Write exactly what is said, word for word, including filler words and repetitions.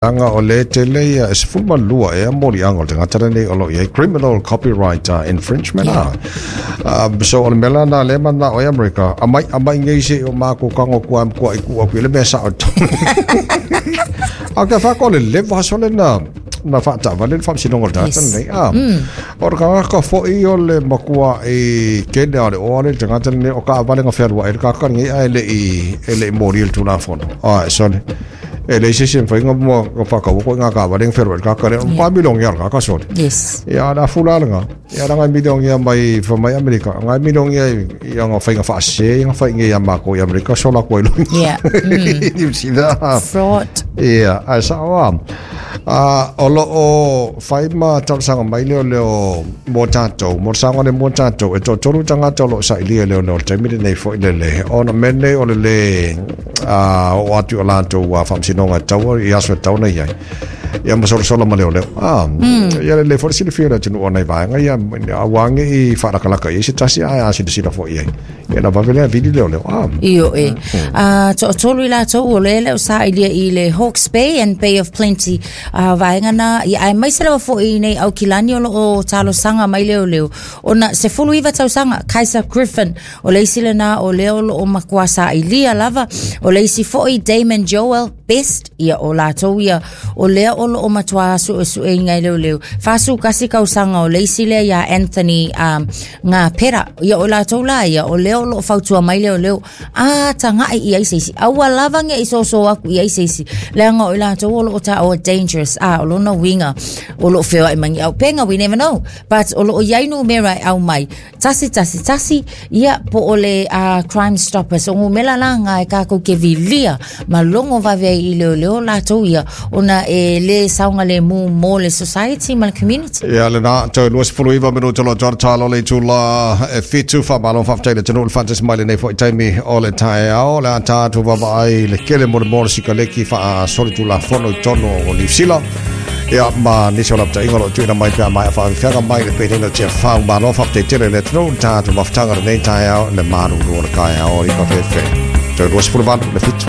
Aga o le tele ia e sefulu ma lua ea moliaga o le tagata lenei o lo o i ai criminal copyright uh, infringement yeah. Uh, so o le mea lana lea manao ai Amerika amai amai nei se o mākou kago kua kua i ku aku i le mea sao a ka fa ko le leva so le na na faataavale le faamasinoga o le tagata lenei a o le kagaka foʻi o le makua i kene o le oa le tagata lenei o kaavale ga fealuaʻi le kaka lenei ae leʻi e leʻi molia le tulafono a e sole e leai se isi mafaiga mo ka faakaua koʻi gakaavale ga fealuaʻi le kaka lea pa milionia o le kaka sole. Yes. Ia le afula lega ia laga milionia mai fa mai Amerika gai milionia i aga faiga faasese ia faiga ia makou i Amerika sola koe lo. Yeah. Mm. Niu Sila. Fraud. Ia ae saʻo a o loo fai ma talosaga mai leo leo mo tatou mo saga le mo tatou e toatolu tagata o loo sailia leo leo le taimi lenei foʻi lele ona mea lenei o le lē a oo atu o latou faamasinoga e taua i aso e tauna iai ia ma solasola ma leoleo a ia lelei foʻi le silafia o le atunuu ona i vaega ia auā geʻi faalakalaka i ai se tasi ae a silasila foʻi ai ia na vave lea vili leoleo a. Io e. Uh, toatolu i latou o le leo sa ilia i le Hawke's Bay and Bay of Plenty uh, vaega na ia ae mai se lava foʻi nei Aukilani o loo talosaga mai leoleo ona sefulu iva tausaga Kaiser Griffin o le isi lena o lea o loo matua sailia lava o le isi foʻi Damon Joel Best ia o latou ia o lea o loo matua suesueina e leoleo fasukasi tausaga o le isi lea ia Anthony um, ngā pera ia o latou la ia o lea o loo fautua mai leoleo a tagaʻi i ai se isi aua lava ge i soso aku i ai se isi leaga o i latou o loo taua dangerous a o lona uiga o loo feoaʻi mai ni aupenga. We never know, but o loo iai numera e au mai tasi tasi tasi ia po o le uh, Crime Stoppers o gumela la nga e kākou ke vilia ma logo vave ai i leoleo latou ia ona e lē saogalemu mo le society ma le community. Ia lena toe luasefulu iva minuta lo toa talo le itula e fitu faamalo faafetai le atunuu le faatasi mai lenei foʻi taimi o le taeao le a tatou vaavaai le kele mo le mo le sikaleki faasolitulafono i tonu o Niusila ia ma nisi o lapataiga o loo tuuina mai pea mai faafeaga mai le penina tia fau malo faafetai tele le atunuu le tatou mafutaga lenei taeao le malulu o le taeao i kafefe toe luasefulu valu le fitu.